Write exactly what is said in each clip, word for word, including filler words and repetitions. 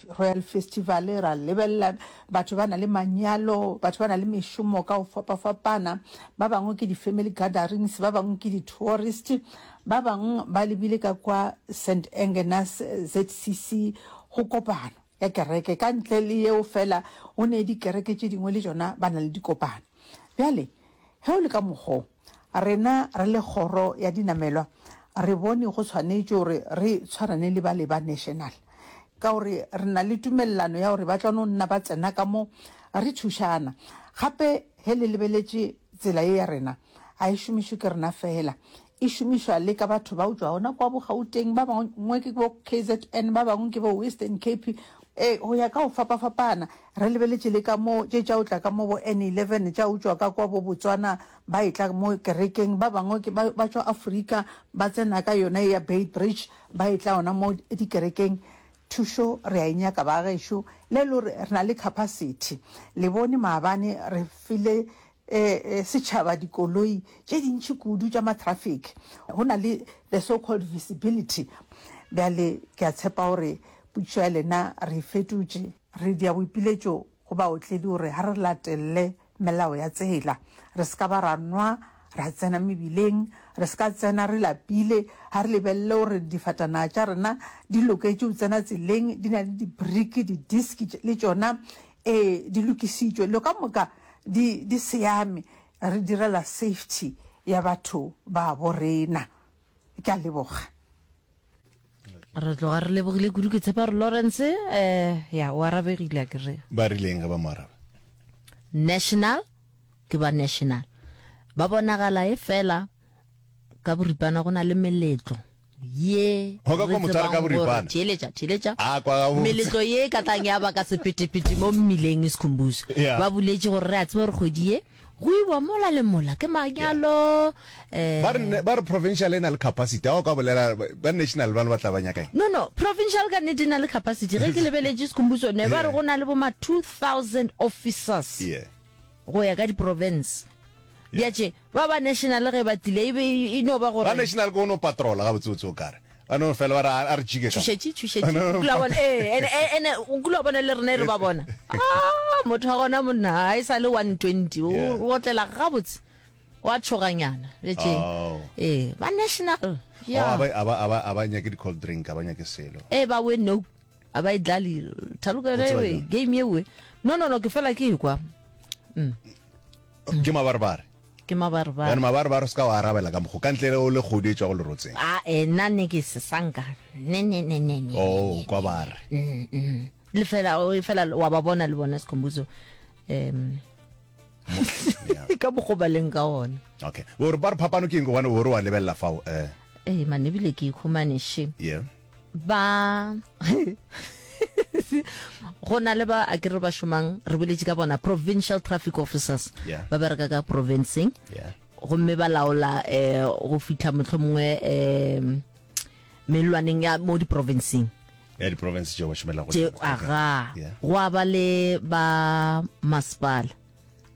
Royal Festival, ra lebelela batho ba na le manyalo, batho ba na le mešomo ka go fapafapana, ba bangwe ke di-family gatherings, ba bangwe ke di-tourist, ba bangwe ba lebile ka kwa Saint Engenas Z C C go kopano ya kereke. Ka ntle le yeo fela, go ne dikereke tše dingwe le tšona ba na le dikopano. Bjale ge o le ka mokgo, rena re le kgoro ya dinamelwa re bone go tshwanetše gore re tshwarane le bale ba national, ka gore re na le tumelelano ya gore ba tla no nna ba tsena ka mo re thušana. Gape ge le lebeletše tsela ye ya rena, ga e šomišwe ke rena fela, e šomišwa le ka batho ba o tšwa gona kwa Bogauteng, ba bangwe ke bo K Z N, ba bangwe ke bo Western Cape, e go ya ka go fapafapana. Re lebeletše le ka mo tše tša o tla ka mo bo N eleven, tša o tšwa ka kwa bo Botswana, ba e tla mo kerekeng, ba bangwe ke ba ba tšwa Afrika, ba tsena ka yona ya Beitbridge, ba e tla ona mo dikerekeng. Thušo re a e nyaka ba gešo, le le gore re na le capacity. Le bone maabane re file eh, setšhaba dikoloi tše dintši kudu tša ma-traffic, go na le the so called visibility. Bjale ke a tshepa gore potšišo ya lena re e fetotše. Re dia boipiletšo go baotledi gore ga re latelele melao ya tsela, re se ka ba ra nwa ra tsena mebileng, re se ka tsena re lapile, ga re lebelele gore difatanaga tša rena di loketše go tsena tseleng, di na le di-brake, di-disc le tšona ee di lokisitšwe, lo ka moka di di siame, re direla safety ya batho ba bo rena. Ke a leboga. Re tloga re lebogile kudu. Ke tshepa gore Lawrence um ya o arabegile, a kere? Ba rileng ge ba mo araba? National ke ba national, ba bonagala e fela ka boripana go na le meletlo ye Go ka kwa motho a re ka boripana. Theeletša, theeletša. A kwa gabotse. Meletlo ye ka tlang ya baka sephetephethe mo mmileng e Sekhumbuzo. Yeah. Ba boletše gore re a tseba gore kgwedi ye go iwa mola le mola ke manyalo um ba re ne- ba re provincial e na le capacity, a o ka bolela ba national ba ba tla ba nyakang? no no provincial ka nnete e na le capacity. Ge ke lebeletše, Sekhumbuzo, ne ba re go na le bo ma two thousand officers yeah go ya ka di-province. Bjatše ba ba national ge ba tlile e be e no ba ba gore national ke o no patrola gabotsebotse, o kare ba no fela ba re a re jike ka tšhošetše, tšhošetše. O kula bona ee ene ene o kula bona le rena e re ba bona, ah, motho wa gona monna ga e sa le one twenty, o Yeah. o otlela gabotse wa tšhoganyana bjatše. Oh. Ee, ba national. Oh, ya a ba a ba a ba a ba nyake di-cold drink, a ba nyake selo. E ba we no a ba e dlale thaloka O yona tseba ewe jwang? Game ewe, no no no ke fela ke ekwa. Ke mabarebare. Ke mabarebare. Bjane mabarebare o se ka wa arabela ka mokgo ka ntle le o le kgodi e tšwa go lerotseng. A e nna ne ke se sanka ne ne ne ne ne. Oh, kwa ba re Mm, mm. le fela o fela wa ba bona le bona, Sekhumbuzo, um Yeah. ka mokgo ba leng ka ona. Okay, gore ba re phapano ke eng, gobane gore wa lebelela fao eh Ee man, ebile ke ikhumane she. Yeah ba go na le ba a kere ba šomang, re boletše ka bona provincial traffic officers. Yeah. Ba bereka ka provinceng yeah gomme ba laola um go fitlha mohlomongwe um mellwaneng ya mo diprovinceng. Ya di-province tšeo ba šomela go tše tšona. Aga. Yeah. Go a ba le ba masepala,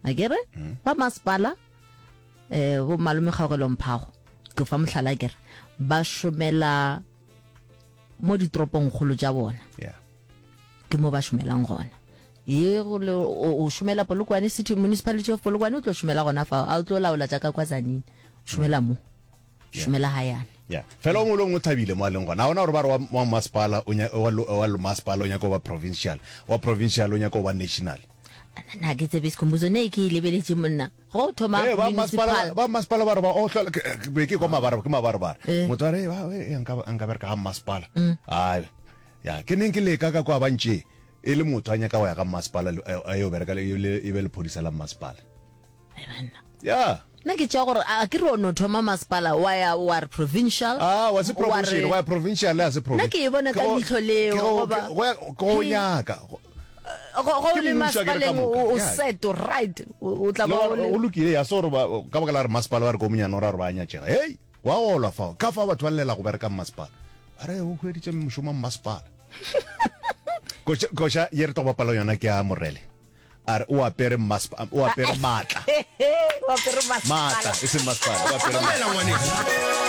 a kere ba masepala um bo malome Kgaogelo Mphago, ke fa mohlala, kere ba šomela mo ditoropongkgolo tša bona. Yeah ke mo ba šomelang gona. Ye go le o o šomela Polokwane City, Municipality of Polokwane, o tlo šomela gona fao, a o tlo laola tša ka kwa Tzaneen, o šomela mo, šomela hayane. Yeah, fela o mongwe le mongwe o thabile mo a leng gona. A ona gore ba re wa wa masepala o nya- wa lo- wa lo masepala o nyaka go ba provincial, wa provincial o nyaka go ba national. Na ke tsebe, Sekhumbuzo, ne ke e lebeletše monna go thoma Eh, ba masepala municipal. Ba masepala ba re ba o hlola ke ke be ke kwa mabare, ke mabarebare. Eh. Motho a re, "Ba, eh, nka nka bereka ga masepala." Ai ya ke neng ke leka ka kwa ba ntše e le motho a nyaka go ya ga masepala le- a yo bereka le le- e be lephodisa la masepala. Ai, banna. Ya. Nna ke tšea gore a ke re o no thoma masepala, wa ya wa re provincial. Ah, wa se wa provincial re- go ya provincial ya se Nna ke e bona ka leihlo leo, goba- go ya go nyaka go go Ke le mmušo akere ka masepaleng moka. o o Ya. set right, o o tla Le ba o gore le o lokile ya se gore ba- ka baka la re masepala ba re ko monyane o ra gore ba nyatšega, hei wa olwa fao ka fao batho ba llela go bereka mmasepala, ba re o hweditše mošomo wa mmasepala. Koša koša ye re tlo go bapala yona ke ya Morele, a re o apere mmasepala, o apere maatla. O apere masepala. Maatla e seng masepala, o apere maatla. Mamela ngwaneso.